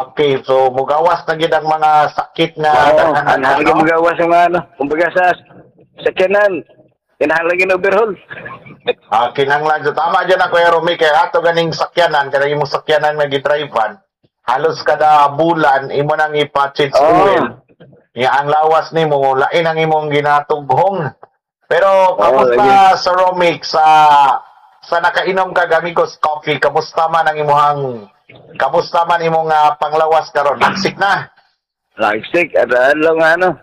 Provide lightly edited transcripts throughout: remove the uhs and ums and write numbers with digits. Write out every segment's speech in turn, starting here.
Okay, so mugawas na gid ang mga sakit nga Oo, daghan ang no? magawas ang mga ano. Kumbaga sa sakyanan, kinahanglan gyud overhaul. Ah, kinahanglan so tama dyan na Kuya Romy kay ato ganing sakyanan kada imong sakyanan nga gidrivean halos kada bulan imo nang ipa-change oil. Nga ang lawas nimo lain ang imong ginatughong. Pero kamusta sa Romic sa nakainom ka Amigos Coffee, kamusta man ang imuhang kamusta man imong panglawas karon? Nagsik na. Nagsik at adlaw nga ano.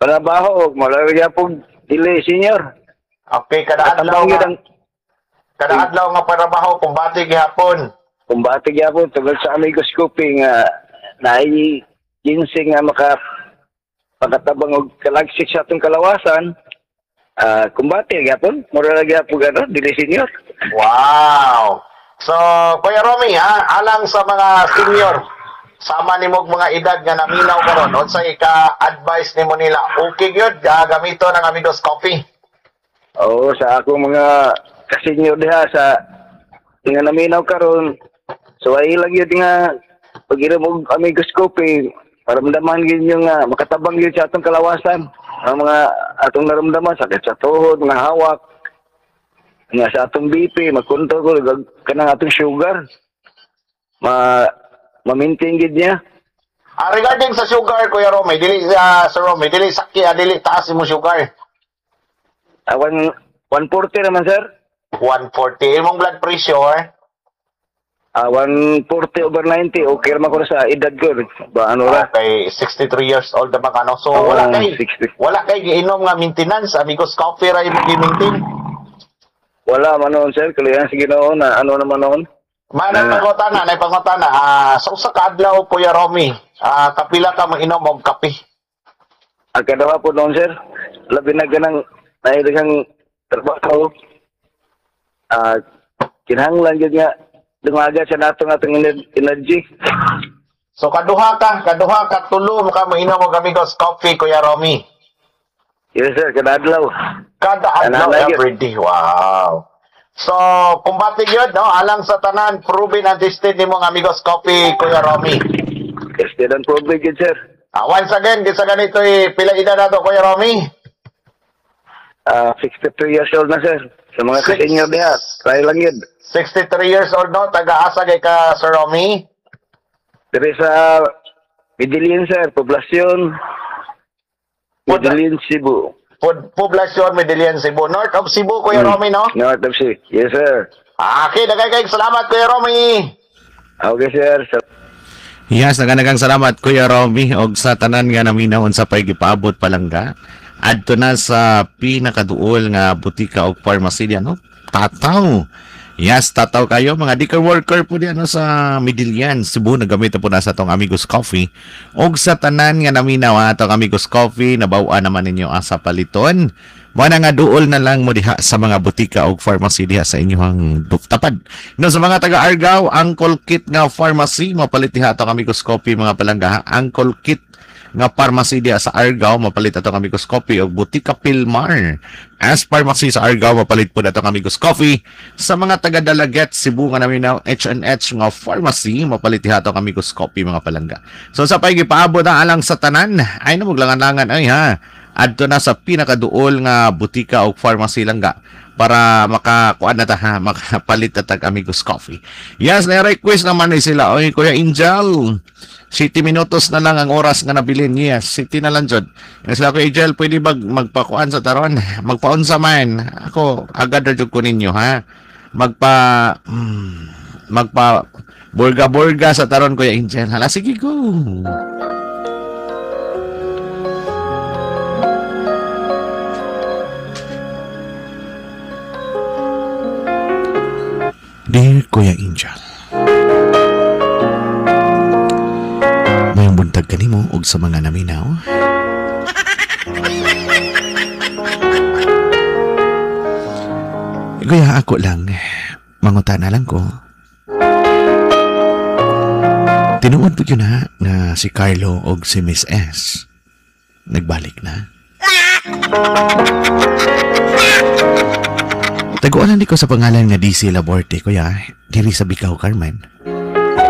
Trabaho og mura gyapon dili senior. Okay, kada adlaw nga kada adlaw nga trabaho kumbati gihapon. Kumbati gihapon tungod sa Amigos Coffee nga naay ginseng nga maka pagkatabang og kalagsik sa atong kalawasan. Kumbati gyapon, mura gyapon ano, dili senior. Wow. So, Kuya Romy, ha, alang sa mga senior, sama nimo og mga edad nga naminaw karon, unsay ka-advice nimo nila? Okay gyud gamito ng Amigos Coffee. Oo, sa akong mga ka-senior diha sa nga naminaw karon, so ay lang gyud nga pag-inom og Amigos Coffee, maramdaman gyud yung makatabang gyud sa atong kalawasan. Ang mga atong naramdaman, sakit sa tuhod, mga hawak, nga sa atong BP, magkontrol ko kanang atong sugar. Ma-maintain gyud niya. Regarding sa sugar, Kuya Romy, dili Sir Romy, dili sakya, dili taas imo sugar. 140 naman, sir. 140. Imong blood pressure? 140 over 90. Okay naman ko na sa edad ko. Ba, ano ra? Okay, 63 years old naman ka, no? So, wala kay 60. Wala kay giinom nga maintenance. Amigos Coffee ra imong gi-maintain. Wala man noon, sir. Kalihan sa Ginoo na ano naman noon. Manang pangutana, nay pangutana. Sa usa ka adlaw, Kuya Romy, kapila ka mainom og kape? Ang kadawa po noon, sir. Labi na ganang nahilagang trabaho. Kinahanglan gyud nga dumaga sa natong atong energy. So kaduha ka tulo ka mainom og Amigos Coffee, Kuya Romy. Yes, sir, kada adlaw. Kada adlaw, every day. Wow. So, kumbati gyud, no? Alang sa tanan, proven and tested nimong Amigos Coffee, Kuya Romy. Tested and proven gyud, sir. Once again, kinsa ganito pila edad nato, Kuya Romy? 63 years old na, sir. Sa mga ka-senior diha, try lang yun. 63 years old, no? Taga-asa kay ka, Sir Romy? Dire sa Medellin, sir. Poblasyon. Medellin, Cebu. Poblasyon, Medellin, Cebu. North of Cebu, Kuya Romy, no? North of Cebu. Yes, sir. Okay, nagkakaig. Salamat, Kuya Romy. Okay, sir. Yes, naganagang salamat, Kuya Romy. Og sa tanan nga naminaw unsa pay gipaabot palangga. Adto na sa pinakaduol nga butika o pharmacy diyan, no? Tataw. Yes, tataw kayo mga daycare worker po diyan, no, sa Medellin, Cebu. Nagamit po na sa atong Amigos Coffee. Og sa tanan nga naminaw atong Amigos Coffee, nabaw-an naman ninyo asa paliton. Mao na nga duol na lang mo diha sa mga butika og pharmacy diha sa inyong tapad. No, sa mga taga Argao, Uncle Kit nga pharmacy, mapalit diha atong Amigos Coffee mga palangga. Uncle Kit nga pharmacy diha sa Argao, mapalit atong Amigos Coffee og Butika Pilmar. As pharmacy sa Argao, mapalit po atong Amigos Coffee. Sa mga taga Dalaguete, Cebu nga naminaw, H&H nga pharmacy, mapalit diha atong Amigos Coffee mga palangga. So sa pay gipaabot ang alang sa tanan, ay na maglangan-langan ay ha. Adto na sa pinakaduol nga butika og pharmacy langga para makakuan na ta ha, makapalit na tag Amigos Coffee. Yes, na request naman ni sila. Oy, Kuya Angel, 7 minutos na lang ang oras nga nabilin. Yes, 7 na lang jud. Yes, sila Kuya Angel, pwede ba magpakuan sa taron? Magpaunsa man. Ako agad ra jud ko ninyo ha. Magpa magpa burga-burga sa taron, Kuya Angel. Hala, sige go. Dear Kuya Angel, mayong buntag kanimo og sa mga naminaw. Kuya, ako lang, mangutana lang ko. Tinuod po yun ha, nga si Carlo og si Miss S nagbalik na. Tagualan di ko sa pangalan nga DC Laborte, kuya, diri sa Bikaw, Carmen.